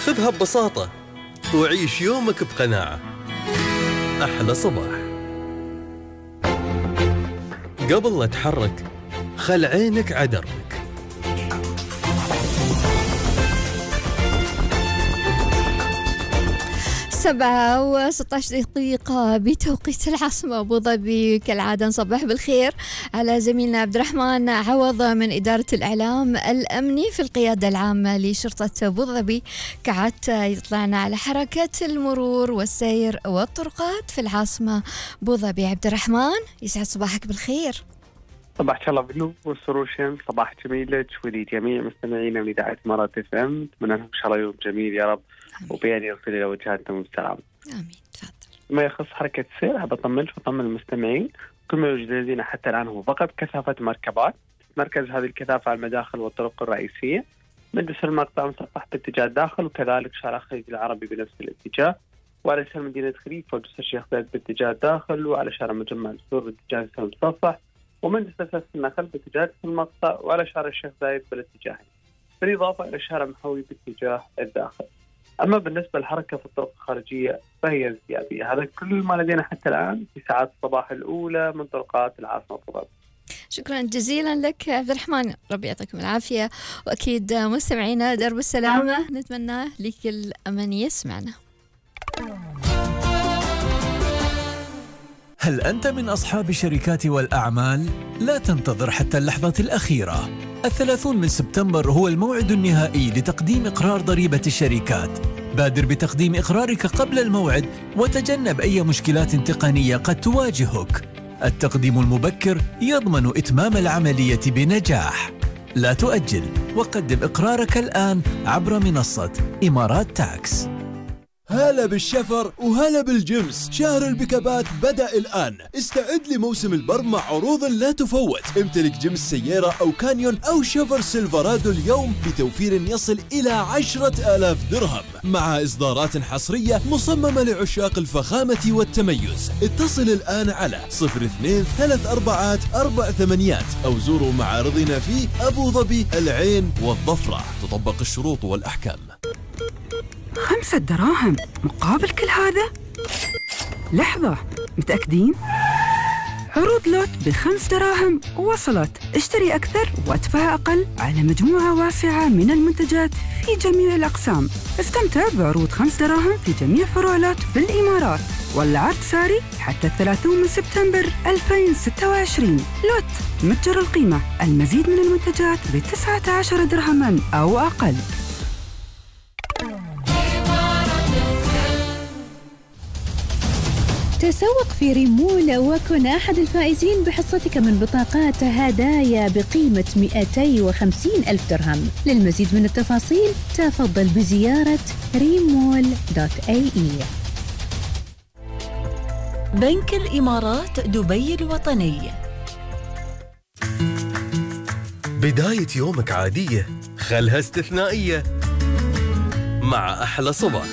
خذها ببساطة وعيش يومك بقناعة. أحلى صباح. قبل لا تحرك خل عينك عدرك. 7:16 بتوقيت العاصمة أبو ظبي. كالعادة نصبح بالخير على زميلنا عبد الرحمن عوض من إدارة الإعلام الأمني في القيادة العامة لشرطة أبو ظبي. كعادة يطلعنا على حركة المرور والسير والطرقات في العاصمة أبو ظبي. عبد الرحمن يسعد صباحك بالخير. صباحك الله بالنور والسرور شمس. صباح جميل لك ولجميع مستمعينا من إذاعة إمارات اف ام. أتمنى لهم إن شاء الله يوم جميل يا رب. وبيان يغفر إلى وجهاتهم السلام. آمين. تفضل. ما يخص حركة السير حاب أطمنك وأطمن المستمعين كل ما يوجد لدينا حتى الآن هو فقط كثافة مركبات. مركز هذه الكثافة على المداخل والطرق الرئيسية من جسر المقطع مصفح باتجاه الداخل، وكذلك شارع خليج العربي بنفس الاتجاه، وعلى شارع مدينة خليفة وجسر الشيخ زايد باتجاه الداخل، وعلى شارع مجمع السور باتجاه جسر المصفح، ومن جسر سلسلة النخل باتجاه جسر المقطع، وعلى شارع الشيخ زايد بالاتجاهين، بالإضافة إلى شارع محوي باتجاه الداخل. أما بالنسبة للحركة في الطرق الخارجية فهي ازديادية. هذا كل ما لدينا حتى الآن في ساعات الصباح الأولى من طرقات العاصمة أبو ظبي. شكرا جزيلا لك عبد الرحمن، ربي يعطيكم العافية. وأكيد مستمعينا درب السلامة نتمنى لكل أمن يسمعنا. هل أنت من أصحاب الشركات والأعمال؟ لا تنتظر حتى اللحظة الأخيرة. 30 من سبتمبر هو الموعد النهائي لتقديم إقرار ضريبة الشركات. بادر بتقديم إقرارك قبل الموعد وتجنب أي مشكلات تقنية قد تواجهك. التقديم المبكر يضمن إتمام العملية بنجاح. لا تؤجل وقدم إقرارك الآن عبر منصة إمارات تاكس. هلا بالشفر وهلا بالجمس. شهر البكابات بدأ الآن. استعد لموسم البر مع عروض لا تفوت. امتلك جمس سيارة أو كانيون أو شفر سيلفرادو اليوم بتوفير يصل إلى 10,000 درهم مع إصدارات حصرية مصممة لعشاق الفخامة والتميز. اتصل الآن على 02-34-48 أو زوروا معارضنا في أبو ظبي، العين والظفرة. تطبق الشروط والأحكام. 5 دراهم مقابل كل هذا؟ لحظة، متأكدين؟ عروض لوت ب5 دراهم وصلت. اشتري أكثر وادفع أقل على مجموعة واسعة من المنتجات في جميع الأقسام. استمتع بعروض 5 دراهم في جميع فروع لوت في الإمارات، والعرض ساري حتى 30 من سبتمبر 2026. لوت متجر القيمة. المزيد من المنتجات ب19 درهما أو أقل. تسوق في ريمول وكن أحد الفائزين بحصتك من بطاقات هدايا بقيمة 250,000 درهم. للمزيد من التفاصيل تفضل بزيارة remol.ae. بنك الإمارات دبي الوطني. بداية يومك عادية خلها استثنائية مع أحلى صباح.